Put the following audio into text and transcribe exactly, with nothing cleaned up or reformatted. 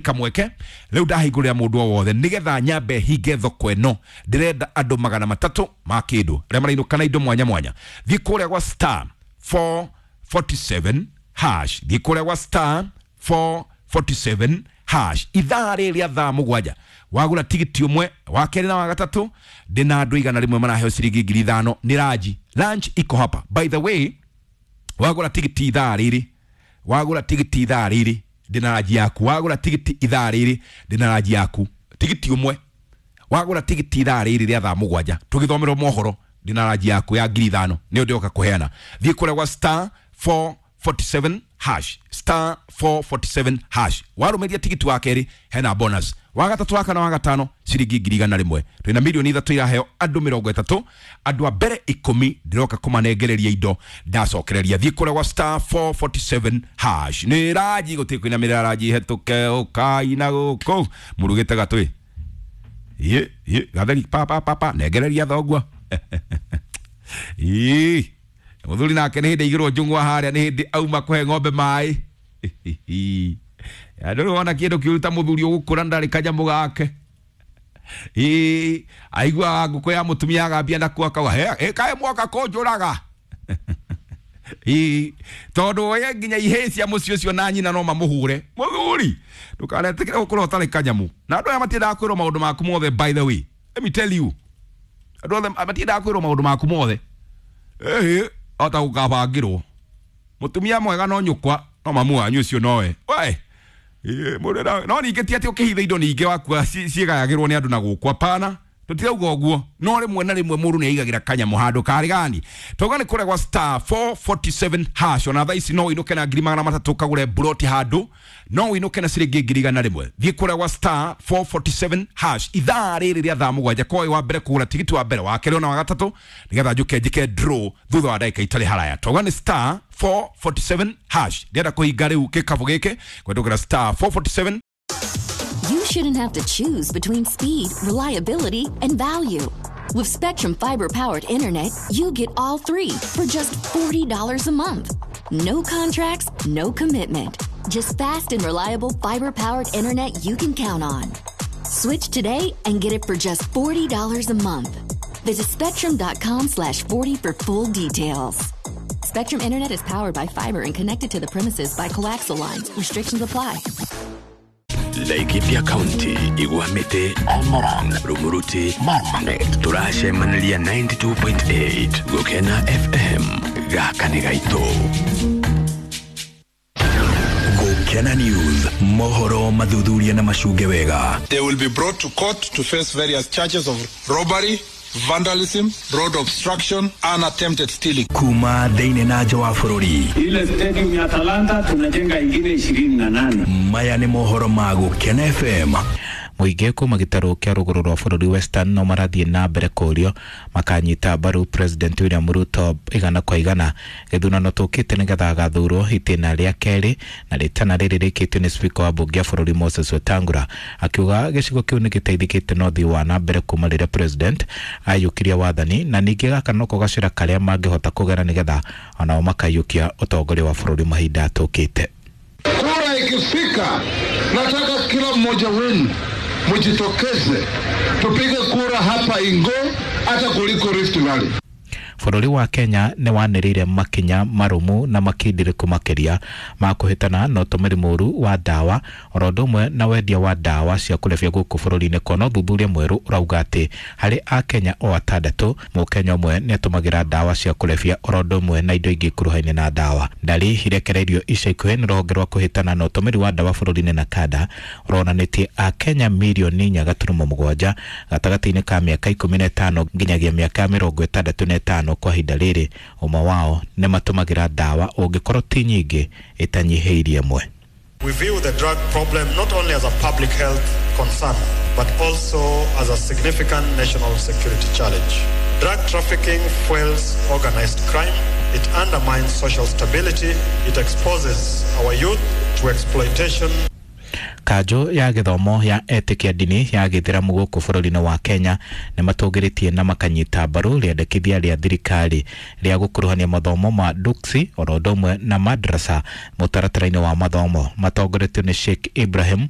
Kamweke rĩu ndahingũrĩra mũndũ o wothe nĩgetha nyambe hinge thoko ĩno. Ndĩrenda andũ magana matatũ ma kĩndũ arĩa marainũka na indo mwanya mwanya. Thiĩ kũrĩa gwa star four forty-seven hash, thiĩ kũrĩa gwa star four forty-seven hash. Ithaa rĩrĩ rĩa thaa mũgwanja wagũra tigiti ũmwe, wa kerĩ na wa gatatũ, ndĩna andũ igana rĩmwe maraheo ciringi ngiri ithano nĩ ranji. Lunch iko hapa. By the way, wagũra tigiti ithaa rĩrĩ, wagũra tigiti ithaa rĩrĩ ndĩna ranji yaku. Wagũra tigiti ithaa rĩrĩ ndĩna ranji yaku. Tigiti ũmwe wagũra tigiti ithaa rĩrĩ rĩa thaa mũgwanja tũgĩthomerwo mohoro ndĩna ranji yaku ya ngiri ithano nĩyo ndĩroka kũheana. Thiĩ kũrĩa gwa star four forty-seven hash, star four forty-seven hash. Warũmĩria tigiti wa kerĩ hena bonus, wa gatatũ, wa kana, wa gatano ciringi ngiri igana rĩmwe. Twĩna milioni ithatũ iraheo andũ mĩrongo ĩtatũ, andũ a mbere ikũmi ndĩroka kũmanengereria indo ndacokereria. Thiĩ kũrĩa gwa star four forty-seven hash. Nĩ ranji gũtirĩ kũinamĩrĩra ranji hetũke ũkaina gũkũ mũrugĩte gatwĩ ye ye gatheri pa pa pa pa nengereria thogua. Ii muthuri nake nĩ hĩndĩ aigĩrwo njũng'wa harĩa, nĩ hĩndĩ auma kũhe ng'ombe maĩ. Andũ rĩu wona kĩndũ kĩũru ta mũthuri ũgũkũra ndarĩ kanyamũ gake. Ii aiguaga ngũkũ ya mũtumia agambia nakuo akauga he kaĩ mwoka kũnjũraga. Ii tondũ we nginya ihĩĩ cia mũciĩ ũcio na nyina no mamũhũre. Mũthuri ndũkanetĩkĩre gũkũra ũtarĩ kanyamũ. Na andũ aya matiendaga kwĩrwo maũndũ maku mothe, by the way let me tell you, andũ othe matiendaga kwĩrwo maũndũ maku mothe. Ĩhĩ ota gũkabangĩrwo mũtumia mwega no nyũkwa no mamu wanyu ũcio nowe we. No ningĩ ti atĩ ũkĩhitha indo ningĩ wakua ciĩgayagĩrwo nĩ andũ na gũkũ, hapana, tũtirauga ũguo. No rĩmwe na rĩmwe mũndũ nĩ aigagĩra kanyamũ handũ karĩ gani. Tauga nĩ kũrĩa gwa star four forty-seven hash. Ona thaa ici no ũinũke na ngiri magana matatũ ũkagũre mburoti handũ, no ũinũke na ciringi ngiri igana rĩmwe. Thiĩ kũrĩa gwa star four forty-seven hash ithaa rĩrĩ rĩa thaa mũgwanja. Kwa wa mbere kũgũra tigiti wa mbere, wa kerĩ ona wa gatatũ, nĩgetha njũke njĩke draw thutha wa ndagĩka itarĩ haraya. Tauga nĩ star four forty-seven hash. Ndĩrenda kũhinga rĩu gĩkabũ gĩkĩ kũhetũkĩra star four forty-seven. You shouldn't have to choose between speed, reliability, and value. With Spectrum Fiber-powered internet, you get all three for just forty dollars a month. No contracts, no commitment. Just fast and reliable fiber-powered internet you can count on. Switch today and get it for just forty dollars a month. Visit spectrum dot com slash forty for full details. Spectrum Internet is powered by fiber and connected to the premises by coaxial lines. Restrictions apply. Laikipia County, Igwamite, Olmoran, Rumuruti, Marmanet, turacemaniria ninety-two point eight Gukena F M gaka nĩ gaitũ. Gukena News, mohoro mathuthuria na macunge wega. They will be brought to court to face various charges of robbery, vandalism, road obstruction and attempted stealing. Kuma thĩinĩ na nja wa bũrũri. Ile stadium ya Talanta tunajenga ingine ishirini na nane. Maya nĩ mohoro ma Gukena F M. Mũingĩ kuma gĩtarũ kĩa rũgũrũ rwa bũrũri Western no marathiĩ na mbere kũũrio makanyita mbaru President William Ruto igana kwa igana gĩthurano tũkĩte nĩgetha agathurwo itĩna rĩa kerĩ na rĩtana rĩrĩ rĩkĩtio nĩ Speaker wa mbunge ya bũrũri Moses Wetangula akiuga gĩcigo kĩu nĩgĩteithĩkĩte na ũthii wa na mbere kuma rĩrĩa President aiyũkirie wathani na ningĩ gaka noko gacĩra karĩa mangĩhota kũgera nĩgetha onao makaiyũkia ũtongoria wa bũrũri mahinda tũkĩte. Kura ikifika, nataka kila mmoja wenu mujitokeze tupige kura hapa Ingo hata kuliko Rift Valley. Bũrũri wa Kenya nĩ wanĩrĩire makinya marũmu na makindĩrĩku makĩria ma kũhĩtana na ũtũmĩri mũũru wa ndawa oro ũndũ ũmwe na wendia wa ndawa cia kũrebia gũkũ bũrũri-inĩ kuona ũthuthuria mwerũ ũrauga atĩ harĩ akenya o atandatũ mũkenya ũmwe nĩ atũmagĩra ndawa cia kũrebia oro ũndũ ũmwe na indo ingĩ ikuruhaine na ndawa. Ndari irekereirio ica ikuhĩ nĩ rũhonge rwa kũhĩtana na ũtũmĩri wa ndawa bũrũri-inĩ na kanda ũronanĩtie akenya mirioni inya gaturumo mũgwanja gatagatĩ-inĩ ka mĩaka ikũmi na ĩtano nginyagia mĩaka mĩrongo ĩtandatũ na ĩtano kwa ihinda rĩrĩ ũmwe wao nĩ matũmagĩra ndawa ũngĩkorwo ti nyingĩ ĩtanyihĩirie ĩmwe. We view the drug problem not only as a public health concern, but also as a significant national security challenge. Drug trafficking fuels organized crime, it undermines social stability, it exposes our youth to exploitation. Kanjũ ya gĩthomo ya etĩkia ndini ya gĩithĩramu gũkũ bũrũri-inĩ wa Kenya nĩ matũgĩrĩtie na makanyita mbaru rĩendekithia rĩa thirikari rĩa gũkuruhania mathomo ma duksi oro ũndũ ũmwe na madrasa mũtaratara-inĩ wa mathomo matongoretio nĩ Sheikh Ibrahim.